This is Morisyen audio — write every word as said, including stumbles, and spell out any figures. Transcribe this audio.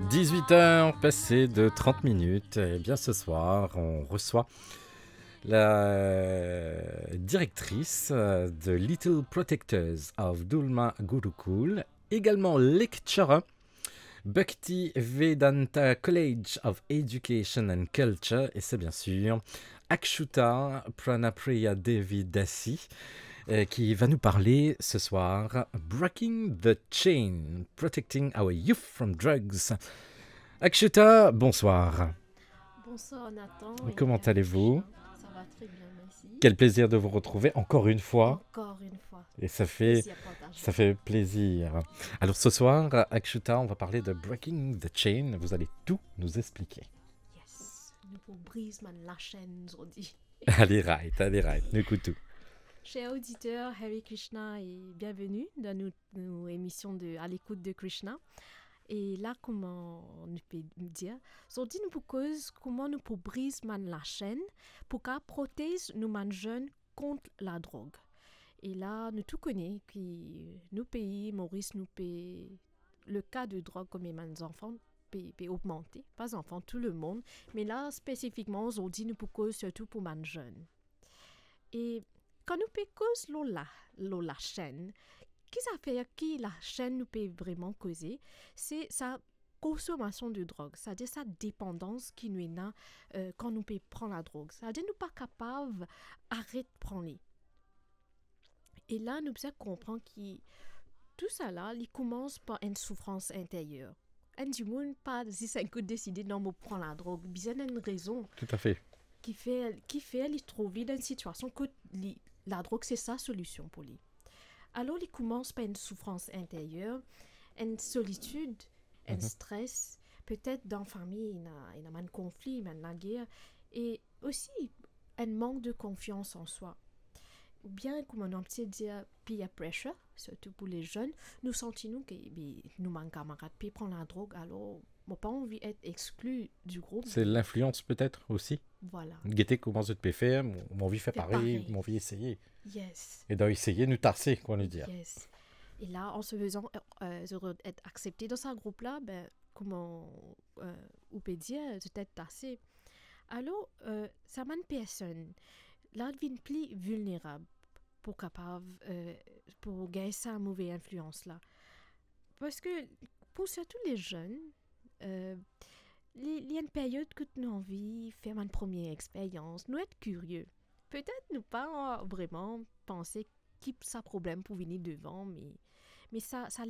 Dix-huit heures passées de trente minutes. Eh bien, ce soir, on reçoit la directrice, euh, de Little Protectors of Dulma Gurukul, également lecturer, Bhakti Vedanta College of Education and Culture, et c'est bien sûr Akshuta Pranapriya Devi Dasi, euh, qui va nous parler ce soir Breaking the Chain, Protecting Our Youth from Drugs. Akshuta, bonsoir. Bonsoir Nathan. Comment allez-vous ? Ça va très bien, merci. Quel plaisir de vous retrouver encore une fois. Encore une fois. Et ça fait, plaisir partagé, ça fait plaisir. Alors ce soir, Akshuta, on va parler de Breaking the Chain. Vous allez tout nous expliquer. Yes. Nou pou briz bann lachenn zordi. Allez, right, allez, right. Nou ekout ou. Cher auditeur, Hare Krishna et bienvenue dans nou, nou émission de À l'écoute de Krishna. E la, kouma nou pe dir, zordi nou pou koz kouma nou pou briz bann lachenn pou kapav protez nou bann zenn kont ladrog. E la, nou tou kone ki nou pei, Moris, nou pe, le ka de drog kouma bann zanfan pe, pe ogmante, pa zanfan, tou lemonn, me la, spesifikman, zordi, nou pou koz sirtou pou bann zenn. E kan nou pe koz lor la, lor lachenn, ki zafer, ki lachenn nou pe vreman koze, se sa konsomasion de drog, savedir sa depandans ki nou ena, euh, kan nou pe pran ladrog. Savedir nou pa kapav aret pran li. E la, nou bizin konpran ki tousala, li koumans par enn soufrans interyer. Enn dimoun pa zis enn kou deside, "Non, mo pran ladrog." Bizin enn rezon. Toutafe. Ki fer, ki fer li trouv li dan enn sitiasion kot li, ladrog se sa solision pou li. Alor, li koumans par enn soufrans interyer, enn solitid, enn stres, petet dan fami, ena, ena bann konfli, bann lager, e osi enn mank de konfians an swa. Oubien, kouma nou abitie dir, peer pressure, sirtou pou le zenn, nou santi nou ki, be, nou bann kamarad pe pran ladrog, alor mo pa anvi et exkli di group. Se linflians petet osi. Vwala. Gete kouma zot pe fer, mo, mo anvi fer parey, mo anvi eseye. Yes. E dan eseye, nou tase, kouma nou dir. Yes. E la, an se fezan, euh, euh, zot et aksepte dan sa group la, be, kouma, euh, ou pe dir, zot et tase. Alor, euh, sa bann personn la vinn pli vilnerab pou kapav, euh, pou gagn sa move inflians la. Parski pou sirtou le zenn, euh, li, li enn period kot nou anvi fer bann premie experyans, nou et kirie. Petet nou pa vreman panse ki sa problem pou vini devan, me, me sa, sa